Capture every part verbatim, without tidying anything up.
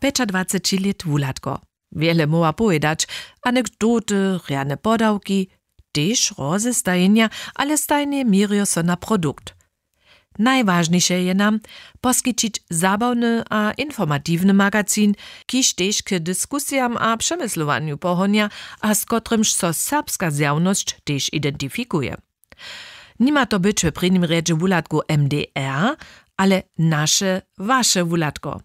pjećadwaceći lět wuhladko. Wjele móhła powědać, anekdoty, rjane podawki, tež rozestajenja, ale stajnje měrjo so na produkt. Najwažniše je nam poskićić zabawny a informatiwny magazin, kiž tež k diskusijam a přemyslowanju pohonja, a z kotrymž so serbska zjawnosć tež identifikuje. Nima to być w prěnim rjedźe wuhladkow MDR, ale naše, waše wuhladko.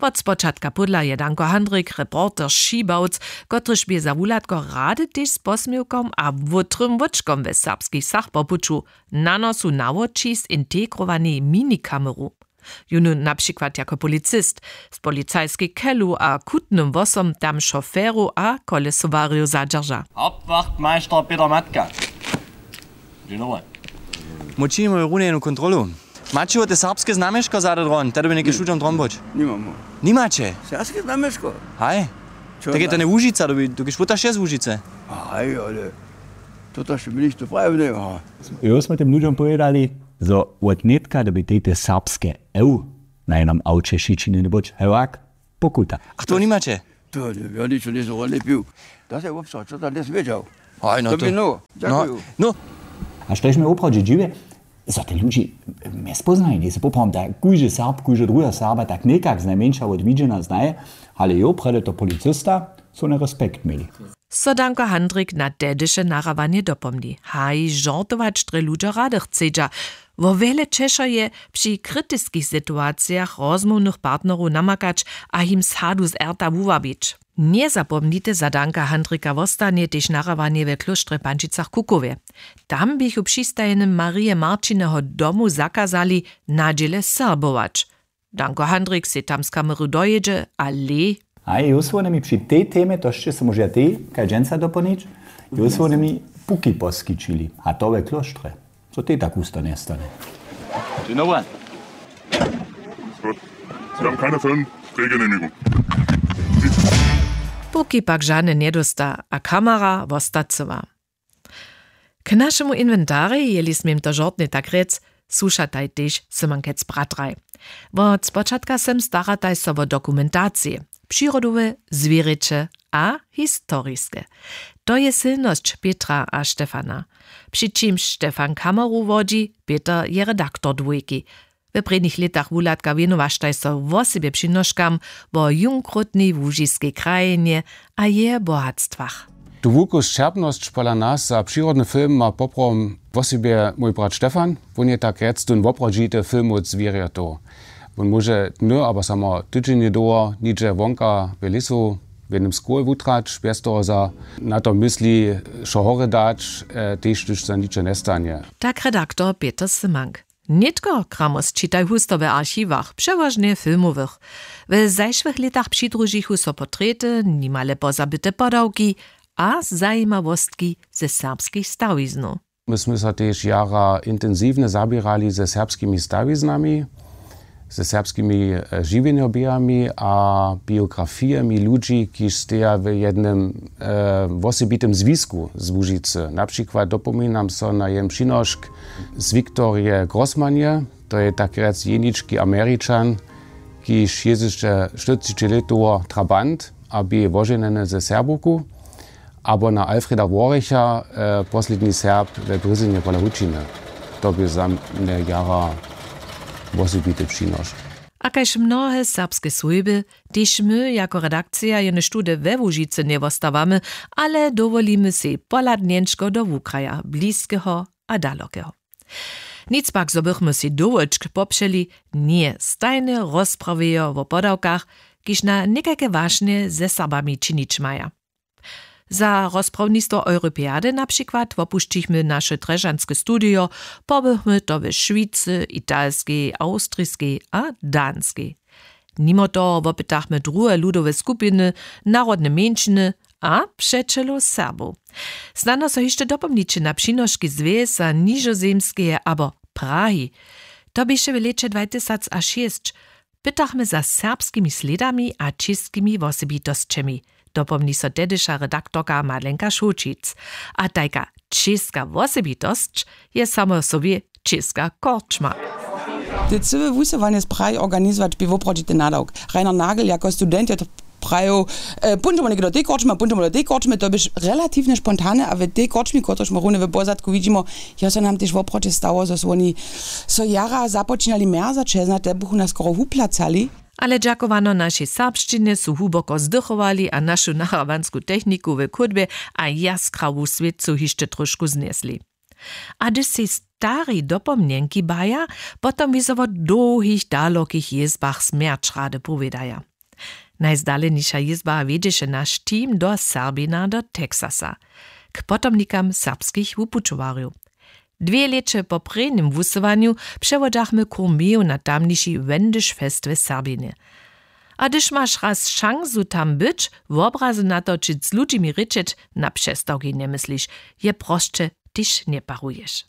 Wot spočatka pódla je Danko Handrik reporter Šibałc, kotryž bě za wuhladko rady tež z posměwkom a wótrym wóčkom we serbskich wsach po puću na nosu nawočist integrowanej minikameru. Jónu na přikład jako policist z policajskej kelu a kutnym hłosom tam šoferow a kolesowarjow zadźerža. Hauptwachtmeister Peter Matka. Dzień dobry. Mój činimy runjenu kontrolu. Maće wo te serbske znamješko zady dron, te dyrbi něke šudźom dromboć? Nimamo. Nimaće? Serbske znamješko? Haj. Tak je to njełužica, dobi dokiž putaš je z łužice. Haj, ale to to še mi ništo prajił njeho. Jo, smy tym ludźom powědali, zo wot nětka dobi tej te serbske ew na jenom awće šićiny njebuć hewak pokuta. A to nimaće? To ja ničo njejsym wodlepił. To se wobstał, co tam dnes wědźał. Haj, no to to bi no. Dźakuju. No. A štož mi woprawdźe dźiwje, zo te ludźi mjezpoznaje, njejsy poprawom tak kóždy serb kóždy druheho serba tak někak znajmjeńša wot widźenja znaje, ale jo prjedy to policista, su na respekt měli. So Danko Handrik na tehdyše narahowanje dopomni. Haj, žortować drje ludźo rady chcedźa. Wo wjele ćeša je při kritiskich situacijach rozmołwnych partnerow namakać a jim sadu z erta wuwabić. Njezapomnite, za Danka Handrika wostanje tež narahowanje we klóštrje w Pančicach-Kukowje. Tam běchu w přistajenym Marije Marćineho domu zakazali na dźěle serbować. Danko Handrik sej tam z kameru dojědźe a lej. A jus wone mi při tej temje, to sće so móžeja tej kaž dźensa dopolnić, jus wone mi puki poskićili, a to we klóštrje, co tej tak husto njestanje. Dzień dobry. Gut. Sie haben keine Filmdrehgenehmigung. Puki pak žane njedósta a kamera wosta cyła. K našemu inwentarej, jeli smím to žortnje tak rjec, słušataj tež Symankec bratraj. Wot spočatka sem starataj so wo dokumentacije, přirodowe, zwěrjeće a historiske. To je sylnosć Pětra a Štefana. Při čimž Štefan kameru wodźi, Pěter je redaktor dwójki. We prědnich lětach wuhladka wěnowaštaj so wosebje přinoškam wo junkrótnej łužiskej krajinje a jeje bohatstwach. Tu wulku sćerpnosć pola nas za přirodny film ma poprawom wosebje mój brat Štefan. Wón je tak rjec tón woprawdźity filmowc zwěrjatow. Wón móže dny abo samo tydźenje dołho nihdźe wonka w lěsu w jednym skłowje wutrać bjez toho za na to mysli, wšo hory dać, tež hdyž za ničo njestanje. Tak redaktor Pěter Symank. Nětko kramosć čitaj husto w archiwach, přewažnje filmowych. W zašłych lětach přidružichu so portrety, nimale pozabyte podawki a zajimawostki ze serbskich stawiznow. My smy so tež jara intensiwnje zaběrali ze serbskimi stawiznami, ze serbskimi žiwjenjoběhami a biografijemi ludźi, kiž steja w jednym wosebitym zwisku z Łužicy. Na přikład dopominam so na jen přinošk z Wiktorje Grossmanje, to je tak rjec jenički Američan, kiž jězdyše štyrceći lětowo trabant a bě woženjeny ze Serbowku, abo na Alfreda Worricha, posledni Serb we Brězynje pola Hučiny. To bě za mnje jara wosebity přinošk. A kaž mnohe serbske swójby, tež my jako redakcija jenož tudy we Łužicy njewostawamy, ale dowolimy sej pohladnjenčko do wukraja, bliskeho a dalokeho. Nic pak, zo bychmy sej dowolčk popřeli, njeje stajnje rozprawjejo wo podawkach, kiž na někajke wašnje ze Serbami činić maja. Za rozprawnistwo Europeady na přikład wopušćichmy naše drježdźanske studijo, pobychmy to w Šwicy, Italskej, Awstriskej a Danskej. Nimo toho wopytachmy druhe ludowe skupiny, narodne mjeńšiny a přećelow Serbow. Snano so hišće dopomniće na přinoški z Wěsa Nižozemskeje abo Prahi. To běše w lěće dwatysacšěsć. Pytachmy za serbskimi slědami a čěskimi wosebitosćemi, dopomni so tehdyša redaktorka Madlenka Šołćic. A tajka čěska wosebitosć je samo w sobje čěska korčma. Te cyłe wusyłanje spraji organizować bě woprawdźe ten nadawk. Reiner nagel jako student je to prajił, póńdźemy někdo do tej korčmy a póńdźemy do tej korčmy to běš relatiwnje spontane a w tej korčmi kotryž ma runje w pozadku widźimo, jo so nam tež woprawdźe stało zo su woni so jara započinali mjerzać hezna te buchu nas skoro wuplacali. Ale dźakowano našej serbšćinje su hłuboko zdychowali a našu nahrawansku techniku w chódbje a jaskrawu swětcu hišće tróšku znjesli. A hdyž sej stari dopomnjenki baja, potom wězo wo dołhich dalokich jězbach smjerć rady powědaja. Najzdaleniša jězba wjedźeše naš team do serbina do texasa, k potomnikam serbskich wupućowarjow. Dwě lěće po prěnim wusyłanju přewodźachmy kurmeju na tamniši wendyšfest w serbinje. A hdyž maš raz šansu tam być, wobrazy natočić z ludźimi rěčeć, na přestawki njemysliš, je prosće tež njeparuješ.